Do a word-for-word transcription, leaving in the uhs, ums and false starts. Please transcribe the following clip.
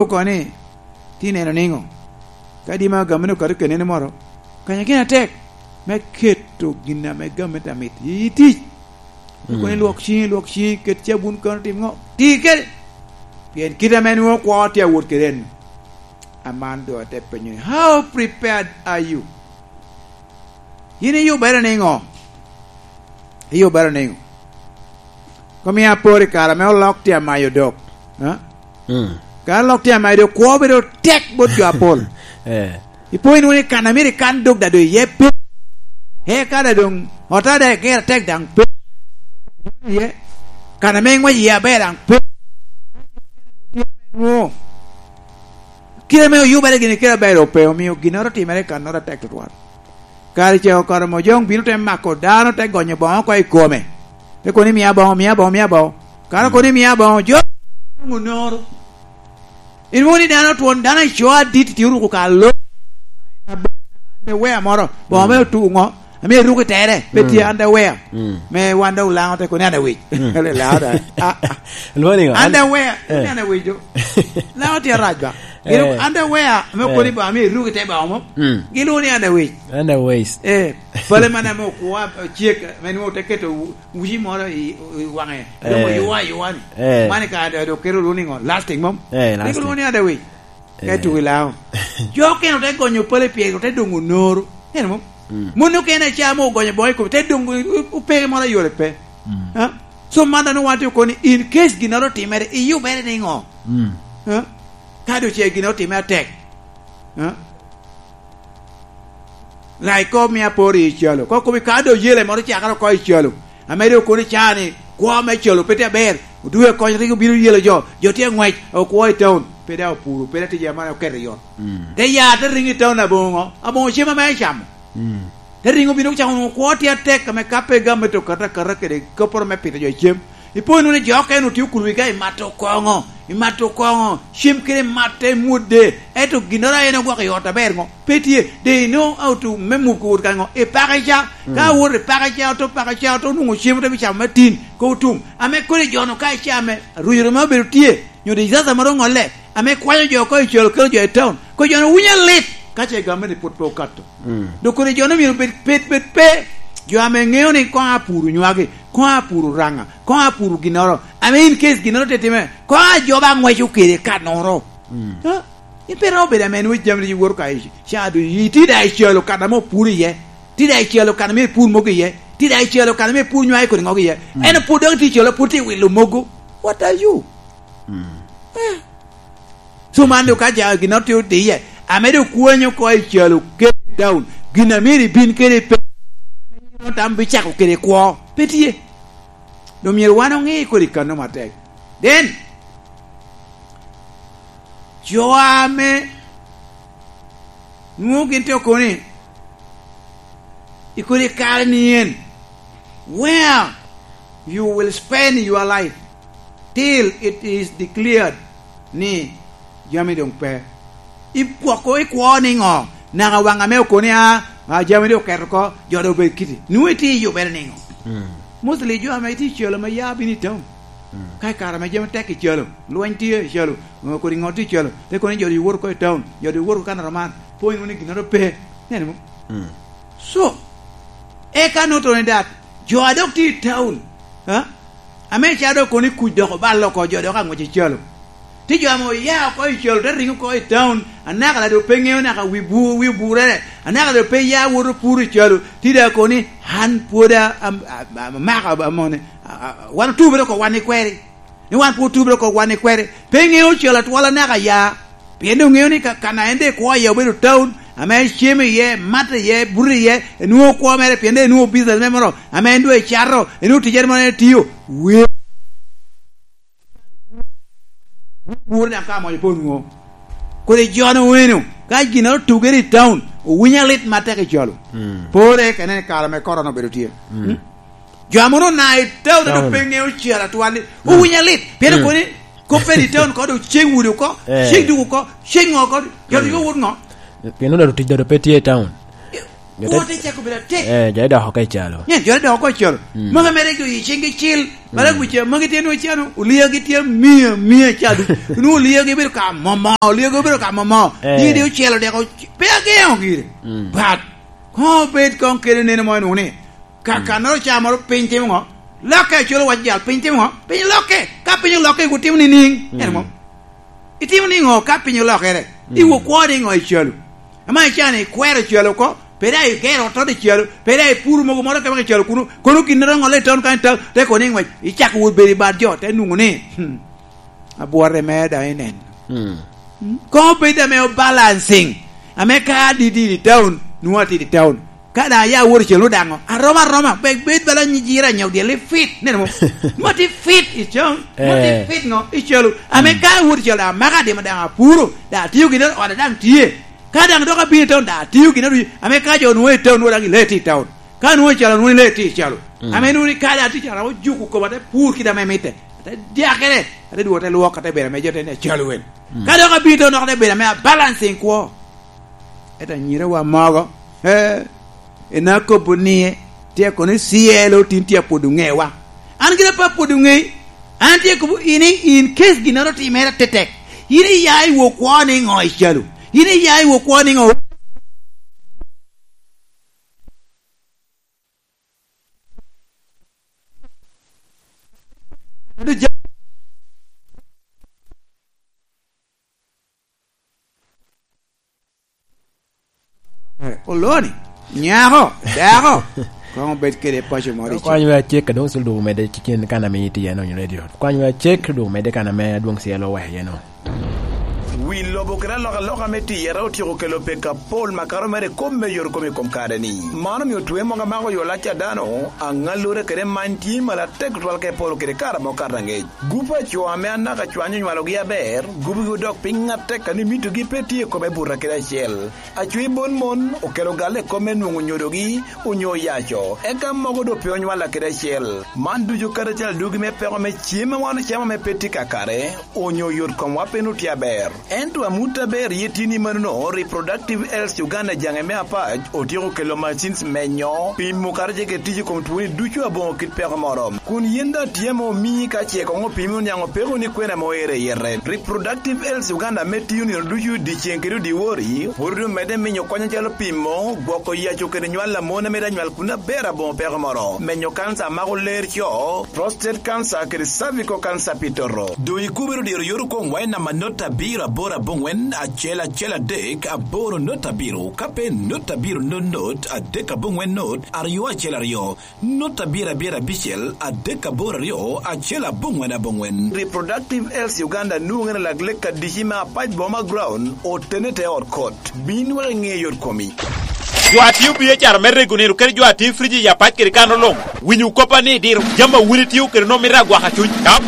oko ni, "Ti neno niŋo? Ka di ma gamente okato kenene moro, kanya gin atek me keto gin ame gamente amit i tic. Okoni, 'Lwok ciŋi, lwok ciŋi, ket cabun kano, tim ŋo? Ti kede.'" Pien kite ame nwoŋo kwo tye awot kede en. Aman doŋ ate penyo ni, "How prepared are you?" Yin iyubere niŋo? Iyubere niŋo? Kom ya apor i kare ame olok tye amayo dok. Ha? Mm. Ka olok tye amayo dok, kwo bedo tek bot jo apol. Eh. Ipo inwoŋo ni kan a myero ikan dok daŋ doŋ iye pe. Eka daŋ doŋ, ota daŋ iger atek daŋ pe. Iye. Kan ame iŋwec iye aber daŋ pe. Nwoŋo. Kite ame oyubere gini kite aber doŋ pe, omio ginnoro otimere i kannoro atek tutwal. Kare ca okato, mo jo bino te mako dano, te gonyo boŋo oko i kome. Te kono ni, "Mia boŋo, mia boŋo, mia boŋo." Kare kono ni, "Mia boŋo," jo onoro. Inwoŋo ni dano twon, dano ico adit tye oruko ka lo. Underwear moro, boŋo me otu ŋo, ame eruko i tere, pe tye underwear. Mm. Me wan dok Laŋo te kono ni underwear. Mm. Laŋo da. Ah, ah. Lwongo ni ŋo? Underwear, eh. Ni underwear jo. Laŋo tye arac ba. Gin underwear, ame okoni ba, ame eruko i te ba omo. Mm. Gilwongo ni underwear. Underwear. Eh, pale man ame okwo, cek, ame nwoŋo te keto wu-, wuci moro i, i waŋe. Eh. Romo yuwa, yuwa ni. Eh. Man ka do, do kero lwongo ni ŋo? Lastic mom? Eh, lastic. Gilwongo ni underwear. Ka i tuko i Laŋo. Jo okene ote gonyo pale pire, ote doŋ onoro. Neno mo? Mm. Mon okene ca mo ogonyo boŋo i kome, te doŋ o-, o-, opeke moro ayole pe. Mm. Ha? So, man dano wan tye okoni, in case ginnoro otimere, iyubere niŋo? Mm. Ha? Ka doŋ ce ginnoro otimere atek. Ha? Like kop mia apor i calo. Kop kop i ka doŋ yele moro cakere oko i calo. Ame doŋ kono ca ni, kwo me calo pe tye aber, odwogo akonyo rik obino yelo jo, jo tye aŋwec, okwo i town, pe daŋ opuro, pe daŋ tije amane oketo i ot. Mm. Te ya, te riŋo i town aboŋo, aboŋo cem ame ecamo. Mm. Te riŋo bino camo nwoŋo kwo tye atek ame ka pe gamente okato akata kede kopporo me pito jo cem. Ipo nwoŋo ni jo okene otye okulu i ga i mato koŋo, i mato koŋo, cem kede matte i mwodde, ento ginnoro a en ogwoko i ot aber ŋo? Pe tye, they know how to me muk wot ka ŋo? I pake ca, ka Mm. awoto i pake ca, oto pake ca, oto onwoŋo cem, ote bicamo me tin, ka otum. Ame kodi jo-nu ka icame, rwiro ma obedo tye, nyo disaster ma ro ŋolle, ame kwanyo jo oko i calo kelo jo i town, ko jo-nu winyo lit, ka ce gamente pwod pe okato. Mm. Dok kodi jo-nu myero bed, bed, bed pe, jo ame ŋeo ni koŋ apuro nywagi, koŋ apuro raŋa, koŋ apuro ginnoro, ame in case ginnoro te time, koŋ ajoba aŋweco kede kannoro. Mm. Ha? In pe romo bedo amen wec jami iwoto ka i ca, do iti da i calo kan ame opur iye. Ti da i calo kan ame ipur mogo iye. Ti da i calo kan ame ipur nywai kodi ŋogo iye. Mm. En opur dok ti calo pur ti wilo mogo. What are you? Mm. Eh. So man do ka ja gin otio di iye. Ame do kwanyo ko i calo kede down. Gin ame ibin kede pe. Tam bicako kede kwo. Pe tye. Do myero wan oŋe kodi kano matek. Then, jo ame nwoŋo gin te okoni, i kodi kare ni en, where you will spend your life till it is declared ni jami doŋ pe. Ipwoko, ikwo niŋo? Naka waŋ ame okoni, a, a, jami doŋ oketo oko, jo doŋ obed kiti. Nwoŋo itye i yubere niŋo? Mm. Mostly jo ame itye i calo ma ya bino i town. Mm. Ka i kare ame jami tek i calo, lweny tye i calo, kodi ŋo tye i calo, te kono ni jo doŋ woto oko i town, jo doŋ woto oko kan aroman, po inwoŋo ni ginnoro pe. Neno mo? Mm. So, eka noto ni dat, jo a dok tye i town, ha? Ame ca dok kono i kuc dok oballe oko, jo dok aŋwec i calo. Tye jo ame oya oko i calo, te riŋo oko i town, anaka la doŋ pe ŋeo naka wi bu-, wi oburere, anaka doŋ pe ya woto puro i calo, tye dok kono ni, "An pwod a-, am-, a-, a-, amaka amone, a-, a-, wan otubere oko wan i kweri." Ni wan pwod otubere oko wan i kweri. Pe ŋeo calo atwal anaka ya. Pien doŋ ŋeo ni ka, kan a en doŋ ekwo iye obedo town, ame cem iye, mat iye, buto iye, enwoŋo kwo mere, pien doŋ enwoŋo business mere moro, ame en doŋ ecato, enwoŋo ticere moro en etio. Wer. Bur daŋ ka amony pe onwoŋo. Kodi jo-nu eno, ka gin otugere i town, owinyo alit matek i calo. Mm. Pore ka ineno i kare ame korona obedo tye. Mm. Mm? Jo ame onwoŋo na i town, town. Dok pe ŋeo cel atwal ni, mm, owinyo alit. Pien, mm, okoni, kop pe i town ko, dok ceng wudi oko, eh, ceng duk oko, ceng ŋo oko, jo, mm, dok wot ŋo? Pien onwoŋo dok tic dok pe tye i town. Jo te Kwo te cako bedo atek. Eh, jo te dok oko i calo. Nyen jo te dok oko i calo. Mm. Magi mere jo i cing-gi cil. Mala Mm. guca, magi tye nwoŋo cano, oliagi tye mia, mia cadu. Nwoŋo oliagi bedo ka momo, oliagi bedo ka momo. Eh. Nying de ocelo deko, pe ageŋo gire. Mm. But, koŋ obed koŋ kede neno mo nwoŋo ni, ka Mm. kannoro ca moro piny timo ŋo? Lokke, acolo wac jal, piny timo ŋo? Piny lokke. Ka piny olokke, wutimo nining? Mm. En mo. Itimo niŋo ka piny olokere? Mm. Iwo kwo niŋo i calo? Ama icano ikwero calo oko, pe daŋ igero ot i calo, pe daŋ ipuro mogo moro kebaka i calo kuno, kono gin roŋo le ton kan ta, te kono iŋwec, icako wot bedo i bad jo, te nwoŋo ni, hmm, abwore mere daŋ inen. Mm. Mm. Koŋ obed ame o balancing, ame ka adidi i town, nwoŋo atidi i town. Ka daŋ aya awot i calo daŋ, aroma aroma, bek bed bala nyijira nya odyelle fit, neno mo? Mo ti fit i calo, mo ti Eh. fit ŋo i calo. Ame Mm. ka awot i calo daŋ amaka adimo daŋ apuro, daŋ atio gin ot daŋ tye. Ka daŋ dok abino i town daŋ atio gin ot, ame ka jo nwoŋo i town, nwoŋo daŋ ile ti i town. Ka nwoŋo i calo, nwoŋo ile ti i calo. Mm. Ame nwoŋo ni ka daŋ atye calo ojuko koma, ate pur kit ame mitte. Ate dyakere, ate dwogo, ate lwok, ate bedo ame jo te ni acalo wen. Mm. Ka dok abino i town, dok ate bedo ame abalancing kwo. Ento anyirawa mogo, eh, en akobo ni, tye kono i C L O tin tye apwodo ŋewa. An gira pe apwodo ŋei. An tye kobo in, in case ginnoro otimere atetek. In iya i wo kwo ni ŋo i calo? In iya i wo kwo ni ŋo? Eh, oloni, nyako, dako, koŋ obed kede paco moro i cik. Kwany me acek, ka dong sul dwogo medde cikin kan ame itye iye-no, onyo radio. Kwany me acek, dwogo medde kan ame adwoŋ C L O oweko iye-no. Wi lobo kede alokaloka me tiyere otyeko kelo pek apol makato mere i kop me yot kom i kom kare-ni. Man omio twe mogo amako yo lac a dano, aŋallure kede many tye malo atek tutwal ka epolo kede kare amo kato aŋec. Gup a co ame anaka cwany onywalogi aber, gupgi odok piny atek, a ni mitogi pe tye i kome buta kede acel. Acwi bon mon okelo galle i kop me nwoŋo nyodogi onyo oyaco, eka mogo doŋ pe onywalla kede acel. Man ducu kadi acel adwogi me peko me cem a wan ocamo ame pe tye kakare, onyo yot komwa pe nwoŋo tye aber. Ento amut aber ye tye ni manono, Reproductive Health Uganda jaŋe me Apac otyeko kelo machines menyo, pimo kadi ce kede tic i kom twoni ducu aboŋo kit peko moro. Kun yin daŋ tye ame omii ka ce koŋ opimi oniaŋ opeko ni kwene ame oero i yete. Reproductive Health Uganda ame tiyo nino ducu dyeceŋ kede odiwori, pwod omedde minyo kony acalo pimo, gwoko yaco kede nywal a mon a mito anywal kun aber aboŋo peko moro, menyo kanca a mako ler co, prostate cancer kede cervical cancer pi toto. Doŋ ikubere diro yot okoŋ wa i namba not abiro aboro aboŋwen acel acel adek aboro not abiro, ka pe not abiro not not adek aboŋwen not aryo acel aryo, not abiro abiro abicel adek aboro aryo acel aboŋwen aboŋwen. Reproductive Health Uganda nwoŋere lak lek adici me Apac Boma Ground, otene te ot kot. Bin wek iŋe yot komi. Jo a tio B H R me rego nino kede jo a tio friji i Apac kede kan oloŋ. Winyo koppa ni diro jami a wun itio kede nwoŋo mito agwaka cuny. Ka